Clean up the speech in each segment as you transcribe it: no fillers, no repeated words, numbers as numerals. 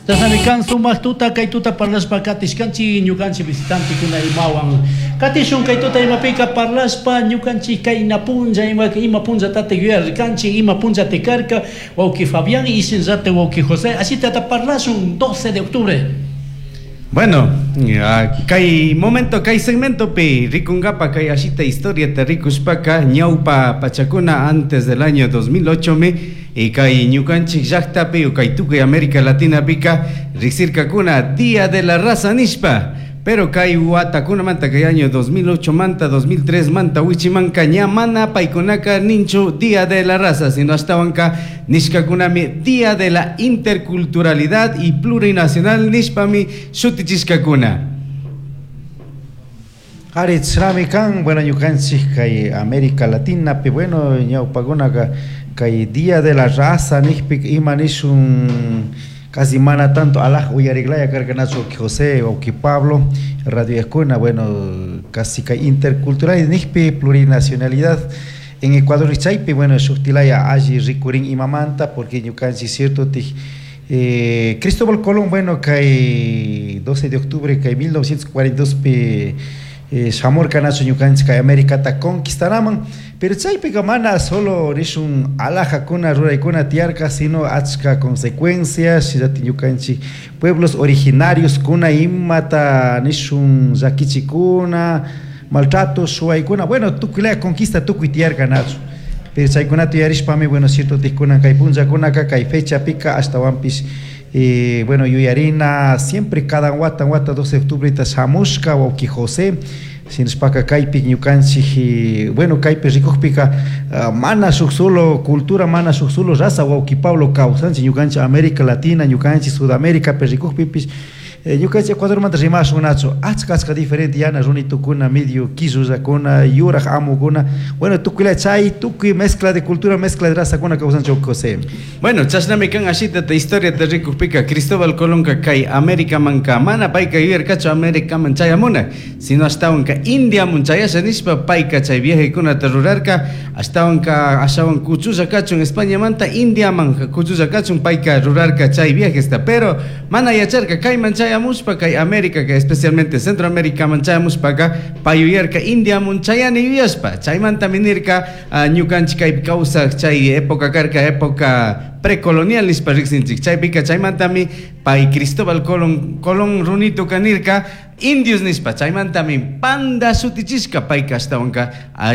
Chashnami kan sumak tuta kay tuta parlashpa katishkanchik ñukanchik visitantekuna imawan. Katishun kay tuta imapika parlashpa ñukanchik kayna punlla ima punllatatik yuyarkanchik, ima punllati karka wawki Fabián y shinllatik wawki José. Ashitata parlashun 12 de octubre. Bueno, kay momento, kay segmentopi rikunkapa kay ashita historiata rikushpaka ñawpa pachakuna antes del año 2008 mi y kay ñukanchik llaktapi o kay tukuy América Latinapika riksirkakuna Día de la Raza nishpa. Pero kay watakunamanta kay año 2008 manta 2003 manta wichimanka ña mana paykunaka ninchu Día de la Raza, sino ashtawanka nishkakunami Día de la Interculturalidad y Plurinacional nishpami shutichishkakuna. Ari chashnami kan, bueno, ñukanchik kay América Latinapi, bueno, ñawpakunaka kay Día de la Raza nishpi ima nishun casi mana tanto alaj uyariklaya karkanachu José o Pablo radio escuela, bueno, casi kay intercultural nishpi plurinacionalidad en Ecuador chaypi, bueno, shuktilaya alli rikurin imamanta porque ñukanchik cierto Cristóbal Colón, bueno, kay 12 de octubre kay 1942 pi shamurka nachu ñukanchik kay Americata conquistanaman, pero chaypika mana solo nishun alhajakuna ruraykuna tiyarka, sino achka consecuencias shinallatik ñukanchik pueblos originarios kuna imata nishun llakichikuna, maltrato, shuwaykuna, bueno, tukuylaya conquista tukuy tiyarka nachu. Pero chaykunata yuyarishpami, bueno, cierto tikunan kay punllakunaka kay fechapika ashtawanpish bueno, yuyarina siempre cada wata wata 12 de octubre shamushka wawki José shinashpaka kaypi ñukanchik, bueno, kaypi rikukpika mana shuk solo cultura, mana shuk solo raza wawki Pablo kawsanchik ñukanchik América Latina, ñukanchik Sudaméricapi rikukpipish ñukanchik Ecuadormanta rimashun nachu achka achka diferente yana runitukuna medio quillullakuna yuraj amukuna, bueno, tukuylaya chay tukuy mezcla de cultura, mezcla de razakuna kawsanchik José. Bueno, chashnami kan ashitata historiata rikukpika Cristóbal Colónka kay Americamanka mana payka yuyarkachu Americaman chayamuna, sino ashtawanka Indiamun chayasha nishpa payka chay viajekunata rurarka, ashtawanka ashawan kuchulla kachun Españamanta Indiaman kuchulla kachun payka rurarka chay viajesta, pero mana yacharka kayman chayamushpa kay América, que especialmente Centroamérica man chayamushpaka pay yuyarka Indiamun chayani yuyashpa, chaymanta minirka ñukanchik kaypi kawsaj chay época karka época precolonial nishpa riksinchik, chaypika chaymantami pay Cristóbal Colón, Colón runituka nirka indios nishpa, chaymantami panda shutichishka payka ashtawanka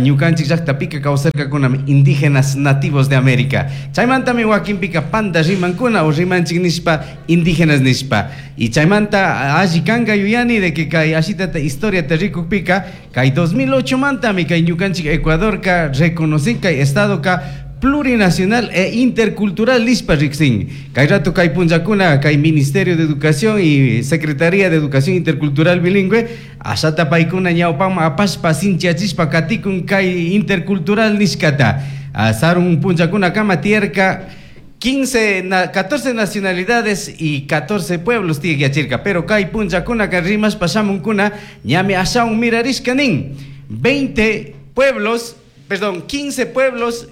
ñukanchik llaqtapika kawsarkakunami indígenas nativos de América, chaymantami wakinpika panda rimankuna o rimanchik nishpa indígenas nishpa, y chaymanta alli kanka yuyani de que kay ashitata historia te rikukpika kay 2008 mantami kay ñukanchik Ecuadorka reconocin kay estadoka plurinacional e intercultural nishpa riksin. Kay rato kay punllakuna kay Ministerio de Educación y Secretaría de Educación Intercultural Bilingüe ashata paykuna ñawpaman apashpa sinchiachishpa katikun kay intercultural nishkata. Sarun punllakuna kama tiyarka 15 14 nacionalidades y 14 pueblos tiene que achirka, pero kay punllakuna ka rimashpa shamunkuna ñami ashawan mirarishka nin 20 pueblos, perdón, 15 pueblos,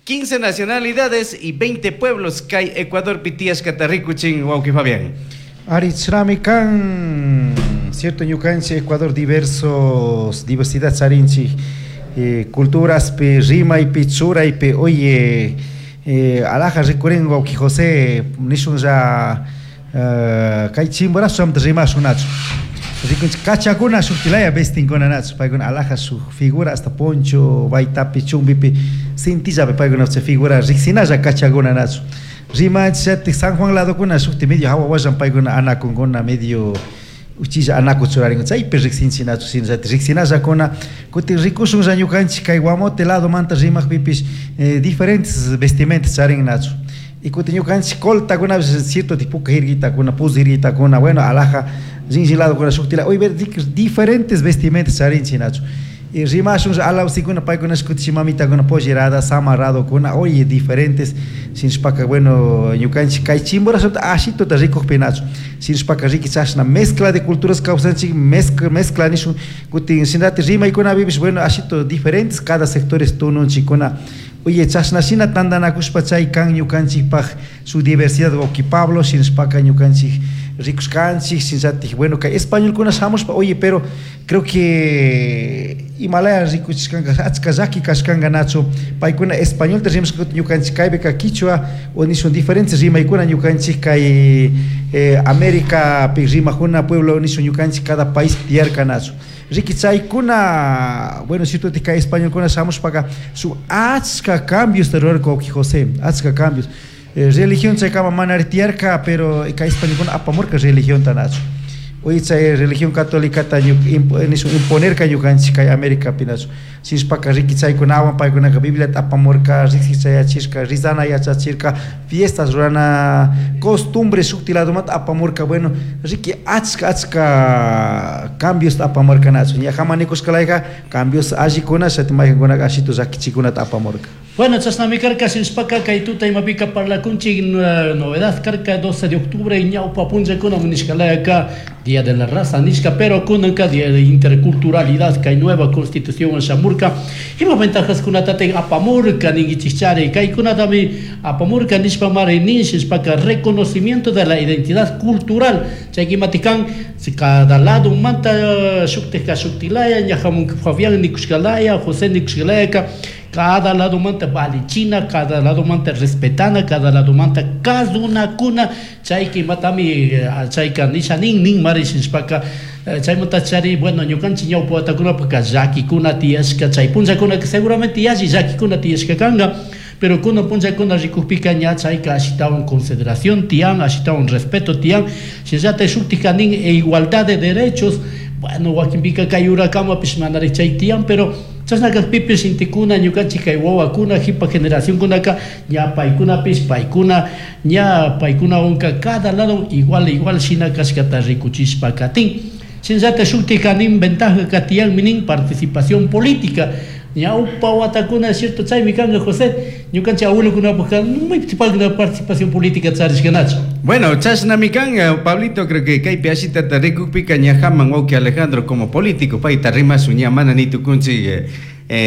15 nacionalidades y 20 pueblos kay Ecuador pitiyashkata rikuchin wawki Fabián. Ari chashnami kan, cierto ñukanchik Ecuador diversos, diversidad charinchik, culturaspi, rimaypi, churaypi, oye, alhaja rikurin wawki José, nishunlla kay Chimborazo shamta rimashun nachu. Rikunchik kachakuna shuktilaya vestinkuna nachu, paykuna alhaja shuk figura hasta poncho, baytapi, chumbipi, cintillapi paykuna chay figura riksinalla kachakuna nachu. Rimanchik San Juan ladokuna shukti medio hawa wallan paykuna anakunkuna medio uchilla anaku churarinkuna, chaypi riksinchik nachu, shinallati riksinallakuna, kutin rikushunlla ñukanchik kay Guamote lado manta rimakpipish diferentes vestimentas charin nachu. Y kutin ñukanchik coltakunapish cierto tipo jirguitakuna, puz jirguitakuna, bueno, alhaja rinchi ladokuna shuktila, hoy ver diferentes vestimentas charinchik nachu. Y rimashun alawsikuna paykuna kutin mamitakuna pollerada, samarradokuna, oye, diferentes, shinashpaka, bueno, ñukanchik kay Chimborazo ashituta rikukpi nachu, shinashpaka riki chashna mezcla de culturas kawsanchik, mezcla nishun, kutin shinallati rimaykunapipish, bueno, ashito diferentes, cada sectores tununchikuna. Oye, chashna shina tandanakushpa chay kan ñukanchikpaj su diversidad wawki Pablo, shinashpaka ñukanchik rikushkanchik, shinallatik, bueno, kay españolkuna shamushpa, oye, pero creo que imalaya rikuchishkanka achka llaki kashkanka nachu, paykuna españolta rimashka ñukanchik kaypika quichua o nishun diferentes rimaykuna ñukanchik kay Americapi rimakuna pueblo nishun ñukanchik cada país tiyarka nachu. Riki chaykuna, bueno, cierto kay españolkuna shamushpaka su achka cambios rurarka wawki José, achka cambios. Religión chaykama mana tiyarka, pero kay españolkuna apamurka religionta nachu. Oye, chay religión católica nishun imponerka ñukanchik kay Americapi nachu. Shinashpaka riki chaykunawan paykunaka Bibliata apamurka, riksik chayachishka, rizana yachachirka, fiestas rurana, costumbres shukti ladomanta apamurka, bueno, riki achka achka cambios apamurka nachu. Ña nikushkalayka cambios allikuna, shati maykankunaka ashitu llakichikunata apamurka. Bueno, chashnami karka shinashpaka kay tuta imapika parlakunchik novedad karka 12 de octubre ñawpa punllakuna nishkalayaka Día de la Raza nishka, pero kunanka Día de Interculturalidad kay nueva constitución shamurka ima ventajas kunatatik apamurka ninkichikchari kaykunatami apamurka nishpa mari nin shinashpaka reconocimiento de la identidad cultural chay imatikan cada lado manta shuktika shuktilaya ñajamun Fabián nikushkalaya José nikushkalayaka cada lado manta valichina, cada lado manta respetana, cada lado manta kazunakuna, chayka imatami chayka nisha nin nin mari shinashpaka chaymanta chari, bueno, ñukanchik ñawpa watakunapaka llakikuna tiyashka, chay punllakunaka seguramente yalli llakikuna tiyashka kanka, pero kunan punllakuna rikukpika ña chayka ashitawan consideración tiyan, ashitawan respeto tiyan, shinallatak shuktika nin igualdad de derechos, bueno, wakinpika kay urakamapish manarik chay tiyan, pero chashna kakpipish intikuna ñukanchik kay wawakuna jipa generacionkunaka ña paykunapish paykuna ña paykunawanka cada lado igual igual shina kashkata rikuchishpa katin. Shinallatak shuktika nin ventaja katiyanmi nin participación política. Ñawpa watakuna, cierto, chaymi kanka José, ñukanchik abuelokunapajka maypi participación política charishkanachu. Bueno, chashnami kan, Pablito, creo que kaypi ashitata rikukpika ñajaman wawki Alejandro como político, payta rimasun ña mana ni tukunchik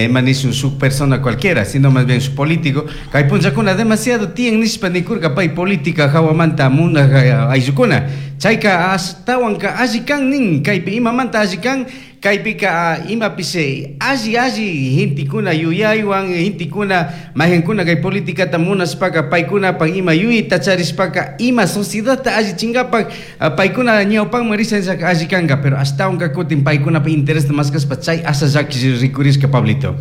manishun shuk persona cualquiera, sino más bien su político. Kay punllakuna demasiado tiyan nishpa nikurka pay política hawamanta munaj ayllukuna. Chayka ashtawanka alli kan nin, kaypi imamanta alli kan, kaypika imapish alli alli gentekuna yuyaywan, gentekuna mayjankuna kay politikata munashpaka paykunapak ima yuyayta charishpaka ima sociedadta allichinkapak paykuna ñawpanman risha alli kanka, pero ashtawanka kutin paykunapak interesta maskashpa chay asha llaki rikurishka Pablito.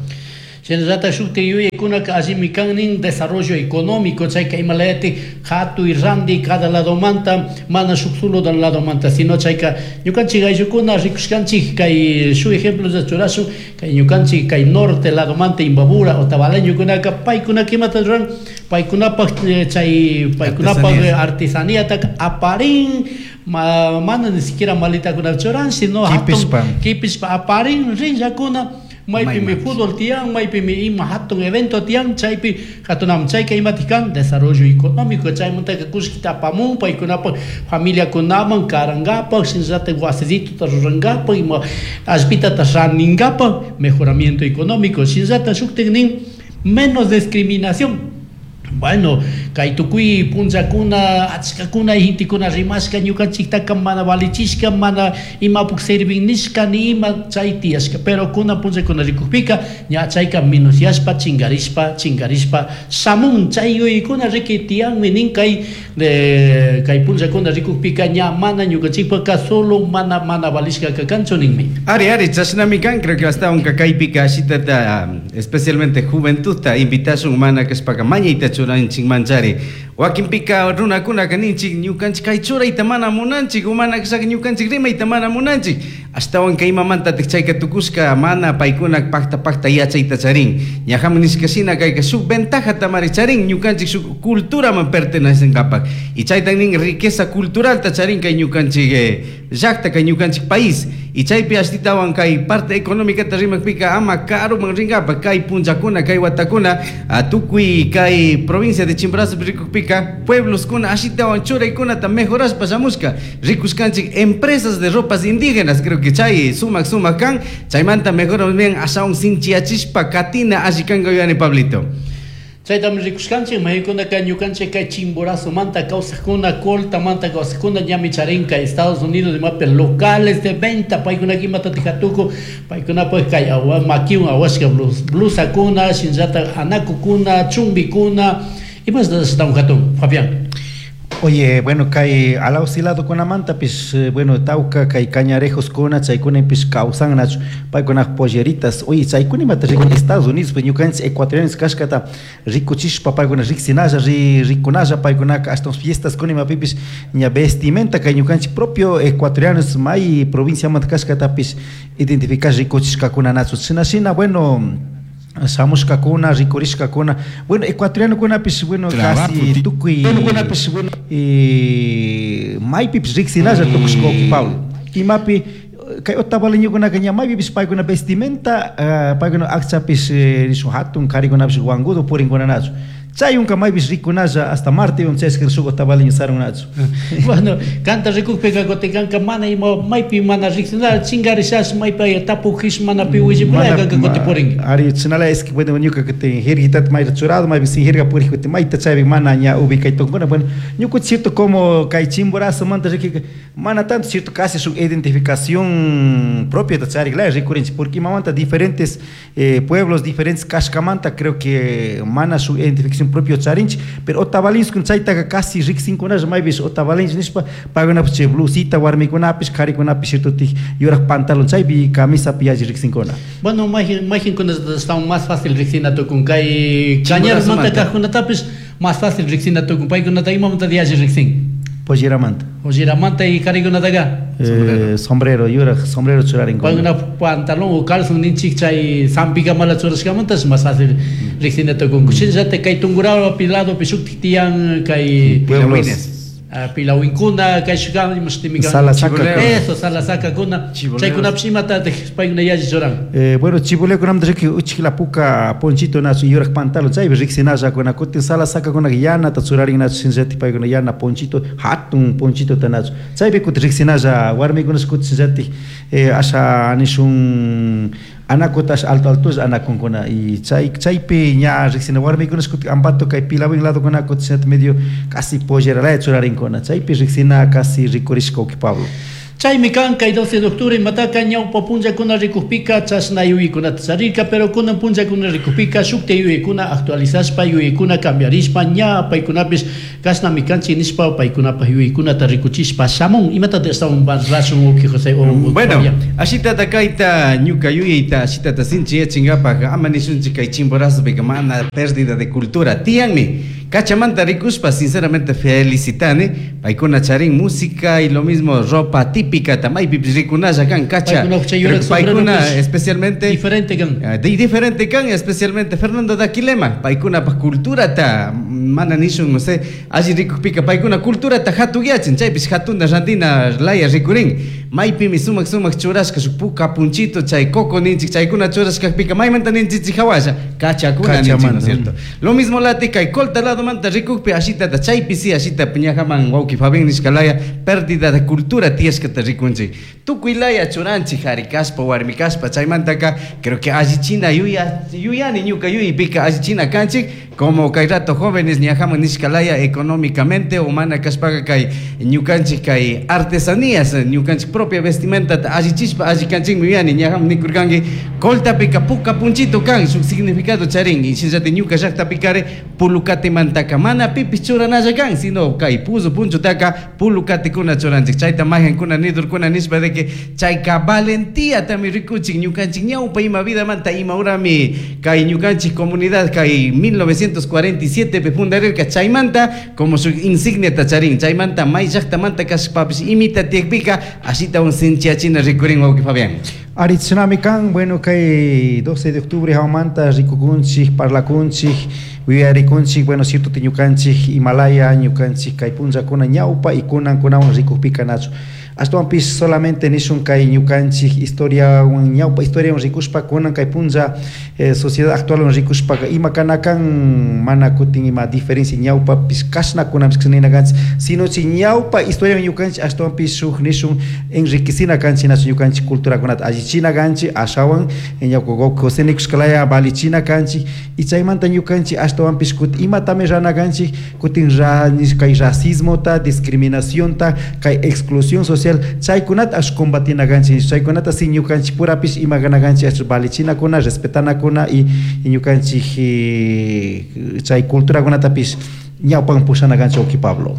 Shinallatak shukti yuyaykunaka allimi kan nin desarrollo económico, chayka imalayati hatuy ranti cada ladomanta, mana shuk solo del ladomanta, sino chayka ñukanchik ayllukuna rikushkanchik kay shuk ejemplo churashun kay ñukanchik kay norte ladomanta Imbabura Otavaleñokunaka paykunaka imata ruran paykunapak chay paykunapak artesanía aparin mana ni siquiera maletakuna churan, sino hatun kipishpa aparin rinllakuna maypimi fútbol tiyan, maypimi ima hatun evento tiyan, chaypi hatunam chayka imatik kan desarrollo económico, chaymantaka kullkita apamun paykunapak familiakunaman karankapak, shinallatak wasisituta rurankapak, ima allpitata rantinkapak, mejoramiento económico, shinallatak shuktik nin menos discriminación. Bueno, kay tukuy punllakuna achkakuna gentekuna rimashka ñukanchiktaka mana valichishka, mana imapuk servin nishka ni ima chay tiyashka, pero kunan punllakuna rikukpika ña chayka minuciashpa chingarishpa chingarishpa shamun chay yuyaykuna riki tiyanmi nin kay kay punllakuna rikukpika ña mana ñukanchikpaka solo mana mana valishkaka kanchu ninmi. Ari ari chashnami kan, creo que ashtawanka kaypika ashitata especialmente juventudta invitashun mana kashpaka mañayta churanchik manchari. Wakinpika runakunaka ninchik ñukanchik kay churayta mana munanchik, mana kashaka ñukanchik rimayta mana munanchik. Ashtawanka imamantatik chayka tukushka mana paykuna pakta pakta yachayta charin. Ñajaman nishka shina kayka shuk ventajata mari charin ñukanchik shuk culturaman pertenecenkapak. Y chaytan nin riqueza culturalta charin kay ñukanchik llakta kay ñukanchik país. Y chaypi ashtitawan kay parte económica rimakpika ama karuman rinkapak kay punllakuna kay watakuna tukuy kay provincia de Chimborazo rikukpika pueblos kuna ashitawan churaykunata mejorashpa shamushka rikushkanchik empresas de ropas indígenas, creo que chay sumak sumak kan chaymanta mejor bien ashawan sinchiyachishpa katina alli kanka yuyani Pablito. Chaytami rikushkanchik maykunaka ñukanchik kay Chimborazomanta kawsakuna, Coltamanta kawsakuna ñami charinka Estados Unidos imapi locales de venta paykunaka imatatik hatuku paykunapak kay makiwan awashka blusakuna, shinallatak anakukuna, chumbikuna, imashta ashtawan hatun, Fabián. Oye, bueno, kay alawsiladokunamantapish, bueno, tawka kay cañarejoskuna chaykunapish kawsannachu paykunak polleritas. Oye, chaykuna imata rikun Estados Unidos, pues ñukanchik ecuatorianos kashkata rikuchishpa paykuna riksinalla, rikunalla paykunaka ashtawan fiestaskuna imapipish ña vestimenta kay ñukanchik propio ecuatorianos may provinciamanta kashkatapish identificash rikuchishkakunanachu. Shina shina, bueno, shamushkakuna, rikurishkakuna, bueno, ecuatorianokunapish, bueno, casi tukuy maypipish riksinalla tukushka wawki Pablo. Imapi kay otavaleñokunaka ña maypipish paykuna vestimenta, paykuna akchapish nishun hatun karikunapish wangudo purinkunanachu. Chayunka maypish rikunalla hasta Marte chayshka shuk otavaleño sarunnachu. Bueno, kanta rikukpika kutin mana ima maypi mana riksinalla chingarishash maypi tapukish mana pi willipura kanka kutin purinki. Ari chinala es que bueno ñuka kutin jirguitata mayta churado maypi sin jirga purik kutin mayta chaypi mana ña ubicaytunkuna. Bueno, ñuka cierto como kay Chimborazomanta rikika mana tanto cierto casi shuk identificación propia charik laya rikurinchik porque imamanta diferentes pueblos diferentes kashkamanta creo que mana shuk identificación propio charinchik, pero otavalinchik chaytaka casi riksinkunalla maypish otavalinchik nishpa paykunapish chay blusita warmikunapish karikunapish cierto tik yurak pantalón chaypi camisapi yalli riksinkuna. Bueno, mayjinkuna estaban más fácil riksina tukun kay cañarmanta kajkunatapish más fácil riksina tukun paykunata imamanta yalli riksin. Polleramanta. Polleramanta y karikunataka. Sombrero, yurak sombrero churarinkuna. Paykuna pantalón o calzón ninchik chay zampikamala churashkamanta es más fácil riksina tukun. Shinallatak kay Tungurahua ladopi shuktik tiyan kay Pueblos. Pilawinkuna, kay shukan, imashtimika. Salasaka. Eso, salasakakuna. Chaykunapish imatatik paykuna yalli churan. Bueno, chibuleokunamanta riki uchikla puka ponchito nachu yurak pantalón chaypi riksinallakuna kutin salasakakunaka yanata churarinnachu shinallatik paykuna yana ponchito hatun ponchitota nachu chaypi kutin riksinalla warmikunash kutin shinallatik asha nishun anakuta asha alto altolla anakunkuna y chaypi ña riksina warmikunash kutin ambato kay Pilawin ladokuna kutin shinallatik medio casi polleralaya churarinkuna chaypi riksina casi rikurishka wawki Pablo. Chaymi kan kay 12 de octubre imataka ñawpa punllakuna rikukpika chashna yuyaykunata charirka, pero kunan punllakuna rikukpika shukta yuyaykuna actualizashpa yuyaykuna cambiarishpa ña paykunapish kashnami kanchik nishpa paykunapak yuyaykunata rikuchishpa shamun. Imatata estaban rashun wawki José o Bueno, Fabián? ashitata kayta ñuka yuyayta ashitata sinchiyachinkapak ama nishunchik kay Chimborazopika mana pérdida de cultura tiyanmi. Cachamanta rikushpa sinceramente felicitani paykuna charin música y lo mismo ropa típica tamaypipish rikunalla kan cacha. Paykuna chay yurak Creo que paykuna sombrero, pues, especialmente diferente kan. Diferente kan especialmente Fernando Daquilema paykuna pa cultura ta mana nishun no sé alli rikukpika paykuna cultura ta hatugyachin chaypish hatunda rantina laya rikurin maypimi sumak sumak churashka shuk puka punchito chay coco ninchik chaykuna churashkakpika maymanta ninchichik hawasha kachakuna ninchik, ¿no es cierto? Lo mismo lati kay Colta lado manta rikukpi ashitata chaypi si ashita piñajaman wawki Fabián nishkalaya pérdida de cultura tiyashkata rikunchik tukuy laya churanchik jari kashpa warmi kashpa chaymantaka creo que allichina yuyani ñuka yuypika allichina kanchik como kay rato jóvenes ñajaman nishkalaya económicamente humana kashpaka kay ñukanchik kay artesanías ñukanchik propia vestimenta allichishpa allikanchikmi yuyani ñajaman nikurkanki Coltapika puka punchito kan shuk significado charin y shinllati ñuka llaqtapikari pulukatimantaka mana pipis churanalla kan sino kay puzo punchotaka pulukatikuna churanchik chayta majankuna nidurkuna nishpa de que chayka valentía tami rikuchik ñukanchik ñawpa ima vidamanta ima urami kay ñukanchik comunidad kay 1947 pe fundarirka chaymanta como su insignia tacharin chaymanta may llaqtamanta kashpapis imita tiyakpika ashita un sinchiachina rikurin wawki Fabián. Ari tsunami kan, bueno, kay 12 de octubre hawamanta rikukunchik, parlakunchik, uyarikunchik, bueno, cierto tiñukanchik, Himalaya, ñukanchik, kay punllakuna ñawpa y kunankunawan rikukpika nachu. Ashtawanpish solamente nishun kay ñukanchik historiawan ñawpa historiawan rikushpa kunan kay punlla sociedad actualwan rikushpaka ima kana kan mana kutin ima diferencia ñawpapish kashna kunanpish nina kanchik, sino chi ñawpa historiawan ñukanchik ashtawanpish shuk nishun enriquecina kanchik nachu ñukanchik culturakunata allichina kanchik ashawan ñawpa José nikushkalaya valichina kanchik y chaymanta ñukanchik ashtawanpish kutin imatami rana kanchik kutin kay racismota, discriminacionta, kay exclusión social chaykunata ash combatina kanchik, chaykunata si ñukanchik purapish ima kana kanchik ash valichinakuna, respetanakuna y ñukanchik chay culturakunatapish ñawpan pushana kanchik wawki Pablo.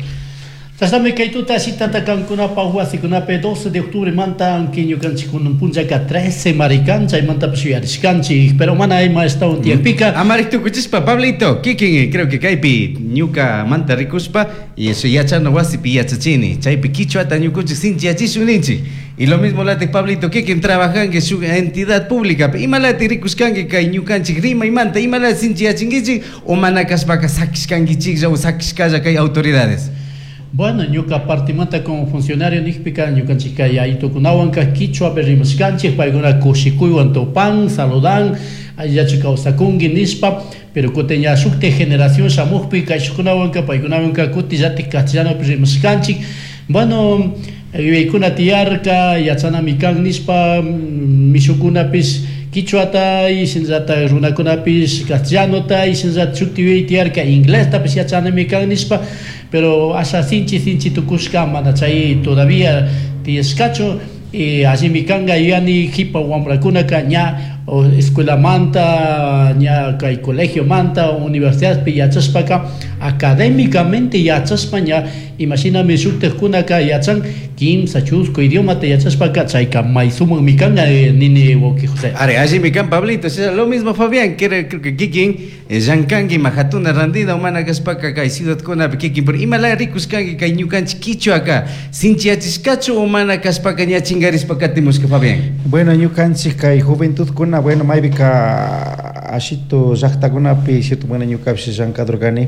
Chashnami kay tuta ashitata kankunapaj wasikunapi 12 de octubre manta ñukanchik kunan punllaka 13 marikan chaymantapish yuyarishkanchik, pero mana ima ashtawan tiyakpika. Amarik tukuchishpa Pablito, kikin creo que kaypi ñuka manta rikushpa y eso yachana wasipi yachachini, chaypi kichwata ñukunchik sinchiyachishun ninchik. Y lo mismo latik Pablito, kikin trabajanki shuk entidad pública, imalati rikushkanki kay ñukanchik rimaymanta, imalati sinchiyachinkichik o mana kashpaka sakishkankichiklla o sakishkalla kay autoridades. Bueno, ñuka partimanta como funcionario nikpika ñukanchik kay aytukunawanka kichwapi rimashkanchik, paykuna kushikuywan tupan, saludan, allillachu kawsakunki nishpa, pero kutin ña shuktik generación shamukpi kayshukkunawanka paykunawanka kutillatik castellanopi rimashkanchik. Bueno, yuyaykuna tiyarka, yachanami kan nishpa, mishukunapish kichwata y shinallata runakunapish castellanota y shinallata shukti yuyay tiyarka inglestapish yachanami kan nishpa, pero asha sinchi sinchi tukushka mana chay todavía tiyashkachu y allimi kanga yuyani jipa wamrakunaka ña o escuela manta, ña kay colegio manta, universidadpi yachashpaka académicamente yachashpa ña imashinami shuktikkunaka yachan kimsa chusku idiomata yachashpaka chayka may sumakmi kanga nini wawki José. Are, allimi kan Pablito, o sea, lo mismo Fabián, creo que kikin llankanki majatuna randina umana kashpaka kay ciudadkunapi kikin, pero imala rikushkanki kay ñukanchik kichwaka sinchiyachishkachu umana kashpaka ña chingarishpa katimushka Fabián. Bueno, ñukanchik kay juventudkuna, bueno, maybika ashito llaqtakunapi, cierto, bueno, ñukapish llankadurkani.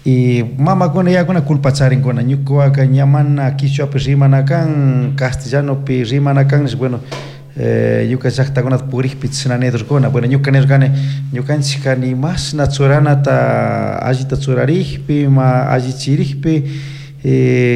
Y mamakuna yakuna culpa charinkuna, ñukuwaka ña mana kichwapi rimana kan, castellanopi rimana kan, bueno, ñuka llaqtakunata purikpi chashna nidurkuna. Bueno, ñuka nirkani, ñukanchikka ni mashna churanata allita churarikpi, ma allichirikpi,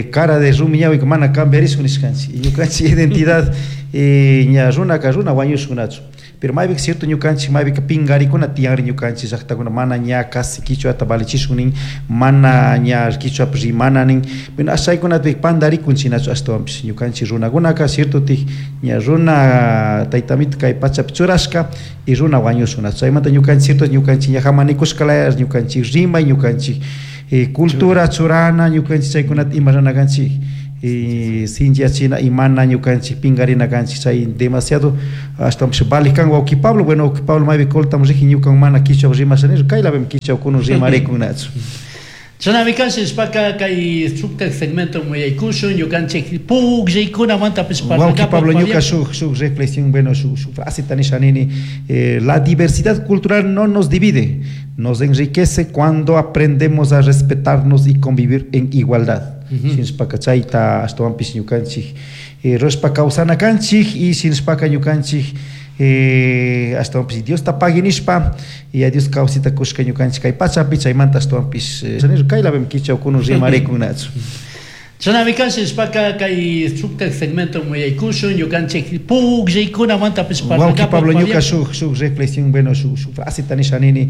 cara de rumi ñawika mana cambiarishun nishkanchik. Y ñukanchik identidad, ña runaka runa wañushkunachu. Pero maybika cierto ñukanchik maybika pingarikuna tiyanri ñukanchik llaqtakuna mana ña casi kichwata valichishun nin, mana ña kichwapi rimana nin. Bueno, ashaykunapi pandarikun chinachu ashtawanpish ñukanchik runakunaka cierto tik ña runa taytamita kay pachapi churashka y runa wañushkunachu. Chaymanta ñukanchik cierto ñukanchik ña hamanikushkalaya ñukanchik rimay, ñukanchik cultura churana, ñukanchik chaykunata ima rana kanchik. Y sinchiyachina y mana ñukanchik pingarina kanchik chay demasiado ashtawanpish valik kan wawki Pablo. Bueno, wawki Pablo maypi coltamos riji ñukan mana kichwa rimasha nishpa kaylapimi kichwa kunun rimarikunachu. Chashnami kan shishpaka kay shuktak segmento muyaykushun ñukanchik pukllaykunamantapish Wawki parlangapaj Pablo, Fabián. ñuka shuk reflexión, bueno, shuk fraseta nisha nini, la diversidad cultural no nos divide, nos enriquece cuando aprendemos a respetarnos y convivir en igualdad. Shinashpaka chayta ashtawanpish ñukanchik, rushpa kawsana kanchik y shinashpaka ñukanchik, ashtawanpish Diosta pagui nishpa y a Dios kawsita kushka ñukanchik kay pachapi chaymanta ashtawanpish, kaylapimi kichwa kunun rimarikunachu. Chashnami kan shishpaka kay shuktak segmento muyaykushun ñukanchik pukllaykunamantapish Wawki parlangapaj Pablo, Fabián. ñuka shuk reflexión, bueno, shuk fraseta nisha nini,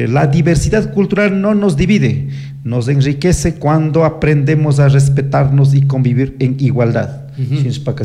la diversidad cultural no nos divide, nos enriquece cuando aprendemos a respetarnos y convivir en igualdad. Shinashpaka